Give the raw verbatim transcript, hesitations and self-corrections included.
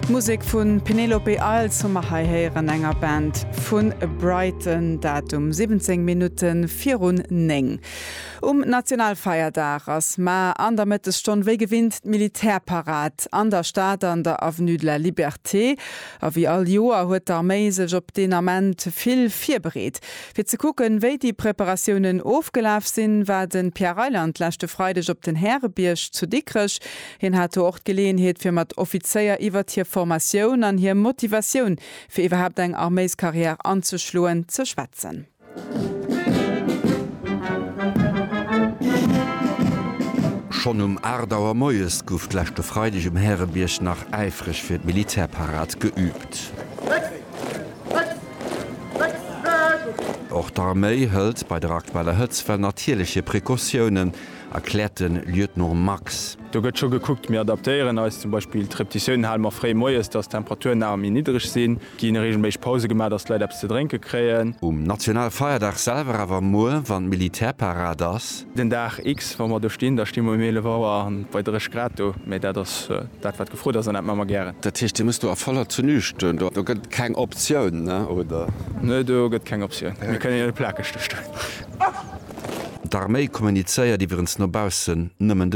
D'Musek vu Penelope Isles hu mer hei héieren, enger Band vu Brighton, dat um siwwenzéng Minutte virun néng. Um Nationalfeierdag ass mar an der Mëttesstonn wéi gewinnt d'Militärparad an der Stad an der Avenue de la Liberté. A wéi all Joer huet d'Arméi sech op deen Ament vill virbereet. Fir ze kucken, wéi déi Preparatiounen ofgelaf sinn, war de Pierre Reyland leschte Freideg op den Härebierg zu Dikrech. Hien hat do och d'Geleeënheet fir mat Offizéier iwwert hir Formatioun an hir Motivatioun fir iwwerhaapt eng Arméiskarriär anzeschloen ze schwätzen. Schonn um aacht Auer moies gouf d'leschte Freideg um Härebierg nach äifreg fir d'Militärparad geüübt. Och d'Arméi hëlt bei der aktueller Hëtztwell natierlech hir Precautiounen, erkläert de Lieutenant Max. Do gëtt scho gekuckt, mir adaptéieren eis, zum Beispill d'Repetitiounen hale mer fréi moies, dass d'Temperaturen awer méi niddreg sinn, gi reegelméisseg Pause gemaach, dass d'Leit eppes ze drénke kréien. Um Nationalfeierdag selwer awer muer, wann d'Militärparad ass. Den Dag X, wa mer do stinn, da sti mer um eelef Auer an bei drécheg Grad do, mee dat ass dat wat gefrot ass an dat maache mer gären. Dat heescht, Dir musst do a voller Tenue stoen, do gëtt et keng Optioun, ne, oder? Nee, do gëtt keng Optioun, mir kënnen jo net plakeg do stoen. D'Arméi kommunizéiert iwwerens no baussen nëmmen de